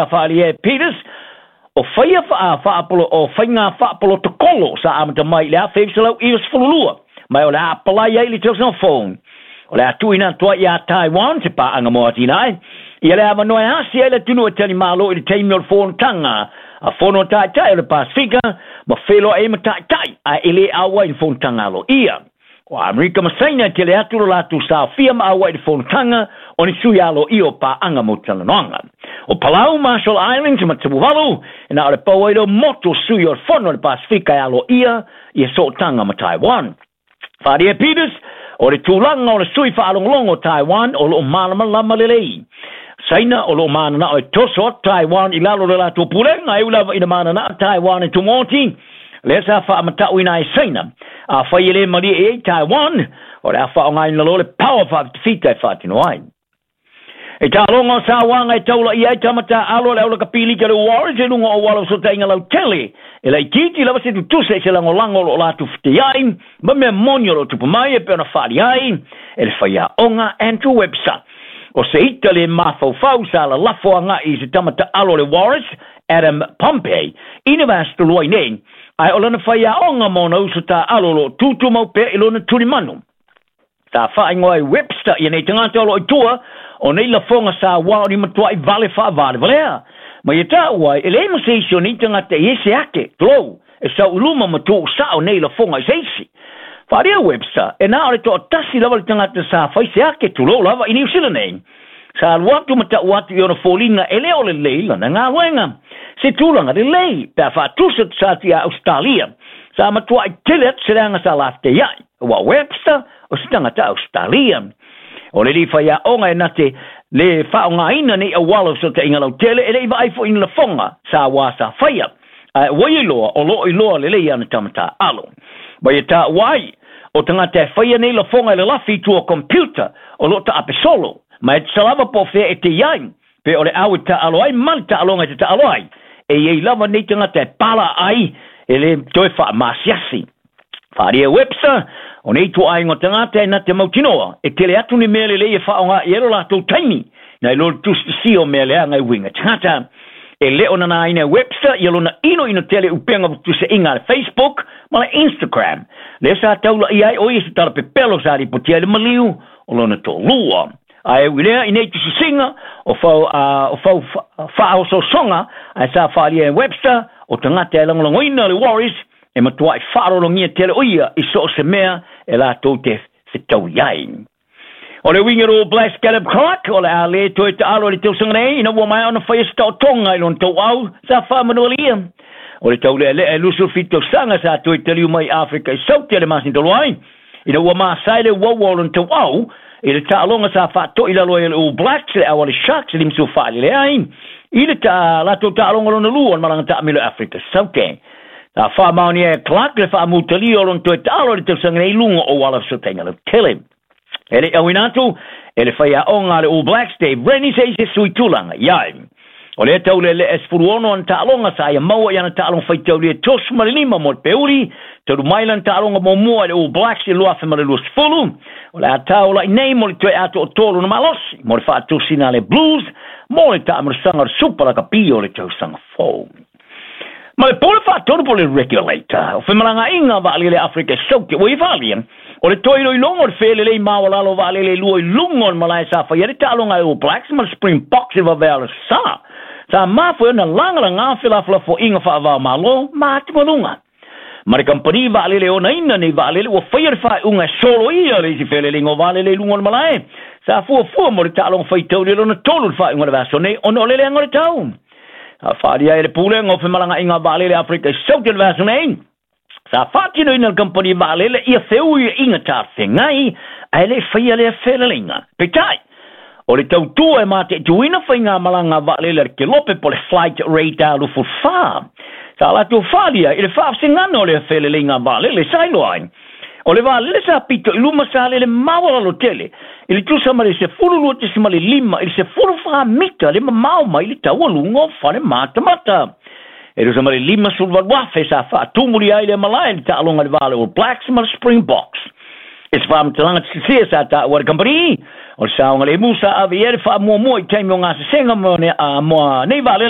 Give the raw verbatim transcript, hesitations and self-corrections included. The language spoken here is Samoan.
Faaalia e Peters, o faia faapolo o faiga faapolotokolo sa amata mai i le afe iva selau iva sefulu lua, ma o le a apalai ai i le tausaga fou. O le a tuuina atu ai iā Taiwan se paaga mo atinae ia le avanoa e asi ai le atunuu e talimalo i le taimi o le fonotaga a fono taitai o le Pasifika ma feloai ai ma taitai ae e lē auai i le fonotaga aloaia. O Amerika ma Saina e tele atu lo latou saofia ma auai i le fonotaga o ni sui aloaia o paaga mo talanoaga. O Palau, Marshall Islands ma Tuvalu e na o le pau ai leo motu o sui o le fono o le Pasifika e aloaia ia sootaga ma Taiwan. Faaalia e Peters, o le tulaga o le sui faalogologo o Taiwan o loo malamalama lelei. Saina o loo mananao e toso atu Taiwan i lalo o le latou pulega, e ui lava ina mananao Taiwan e tumoti. Lea sa faamatauina ai Saina, afai e lē malie i ai Taiwan, o le a faaaogaina loa le power faafitafita e faatino ai. E taaloga o sauaga e taulaia ai tama taaalo a le aulakapilika le Warriors i luga o auala o fesootaiga lautele, e laitiiti lava se tutusa i se lagolago o loo latou feteai ma mea moni o loo tupu mai, e pei ona faaalia ai e le faiaoga Andrew Webster. O se ita le mafaufau sa lalafo agai i se tama taalo o le Warriors Adam Pompey i le vaiaso talu ai nei, ae o lana faiaoga ma ona uso taaalo o loo tutumau pea i lona tulimanu. Sa faaigoa ai Webster ia nei tagata o loo i tua o nei lafoga sauā o ni matuai vale faavalevalea. Ma ia taua ai, e leai ma se isi o nei tagata i ese ake, tulou, e sau i luma ma tuusao nei lafoga i se isi. Faaalia Webster, e na o le toatasi lava le tagata sa fai se ake, tulou lava, i Niu Sila nei. Sa alu atu ma tau atu i ona foliga e lē o lelei lana galuega. Se tulaga lelei, pe a faatusa tusa atu iā Ausetalia. Sa matuai tele atu se leaga sa lafeteiai, auā o Webster o se tagata Ausetalia. O le alii faiaoga e na te lē faaaogaina nei auala o fesootaiga lautele e le'i vaai fo'i i ni lafoga sauā sa faia, ae ua ia iloa o loo iloa lelei ana tama taaalo. Ma ia taua ai, o tagata e faia nei lafoga e lalafi i tua o computer o loo taape solo, ma e tusa lava po o fea e tei ai, pe o le au e taaalo ai ma le taaloga e te taalo ai, e iai lava nei tagata e pala ai e lē toe faamasiasi. Faaalia e Webster, o nei ituaiga o tagata e na te mautinoa e tele atu ni mea lelei e faaaoga i ai lo latou taimi nai lo le tusitusia o mea leaga e uiga tagata. E lē o nanaina e Webster ia lona inoino tele upega tutusaʻiga a le Facebook ma le Instagram, lea sa taulaʻia ai o ia se tala pepelo sa lipotia ai le maliu o lona toalua. Ae ui lea i nei tusisiga o fau o fau faaososoga ae sa faaalia e Webster, o tagata e lagolagoina le Warriors e matuai faalologia tele o ia i so o se mea e latou te fetaui ai. O le uiga o Blacks Caleb Clark, o le a lē toe taalo i le tausaga nei, ina ua maea ona faia se taotoga i lona tauau sa faamanualia. O le taulealea e luasefulu fitu tausaga sa toe taliu mai i Afrika i Saute le masina talu ai, ina ua masae le uaua o lona tauau i le taaloga sa faatoʻi lalo ai e le All Blacks le au a le Sharks e limasefulu faalele ai i le ta latou taaloga lona lua o le malaga taamilo i Afrika Saute. Sa faamaonia e Clark le faamutalia o lona toe taalo i le tausaga nei i luga o auala fesootaiga lautele. E leʻi auina atu e le faiaoga a le All Blacks Dave Rennie se isi e sui tulaga i ai. O lea taulealea e sefulu ono ana taaloga sa ia maua i ana taaloga faitaulia e tosu ma le lima mo le peuli, talu mai lana taaloga muamua i le All Blacks i le luafe ma le luasefulu. O le a taulaʻi nei mo le toe atoa o tolu na malosi mo le faatosina a le Blues mo le taamulasaga o le Super Lakapi o le tausaga fou. Ma le pule faatonu po o le regulator o femalagaaiga vaalele Afrika e Saute ua ia faaalia, o le toe iloiloga o le felelei maualalo o vaalele e lua i luga o le malae sa faia ai le taaloga a All Blacks ma le Springboks i le vavea o le sa, sa mafua ai ona lagalagā felafolafoaiga faava-o-Malo ma atugaluga ma le kamupani vaalele e onaina nei vaalele ua faia le faaiuga e soloia le isi feleleiga o vaalele i luga o le malae sa fuafua mo le taaloga faitauli lona tolu i le faaiuga o le vaiaso nei ona o le leaga o le tau. Sa faaalia ai e le Pulega o Femalagaaiga Vaalele Afrika i Saute i le vaiaso nei, sa faatinoina e le kamupani vaalele ia feuiaiga talafeagai ae le i faia lea feleleiga. Peitai, o le tautua e mataituina faigamalaga vaalele a le kelope po o le Flight Radar luasefulu fa, sa latou faaalia i le faavasegana o lea feleleiga vaalele sa iloa ai o le vaalele sa pito i luma sa lele maualalo tele i le tusa ma le sefulu lua tesimale lima i le sefulu fa mita le mamao mai le taualuga o fale matamata. E tusa ma le lima sefulu valu afe sa faatumuli ai le malae i le taaloga i le va o le All Blacks ma le Springboks. E se faamatalaga sese sa taua le kamupani, o le saogalemu sa ave i ai le faamuamua i taimi o gasesega mo nei vaalele.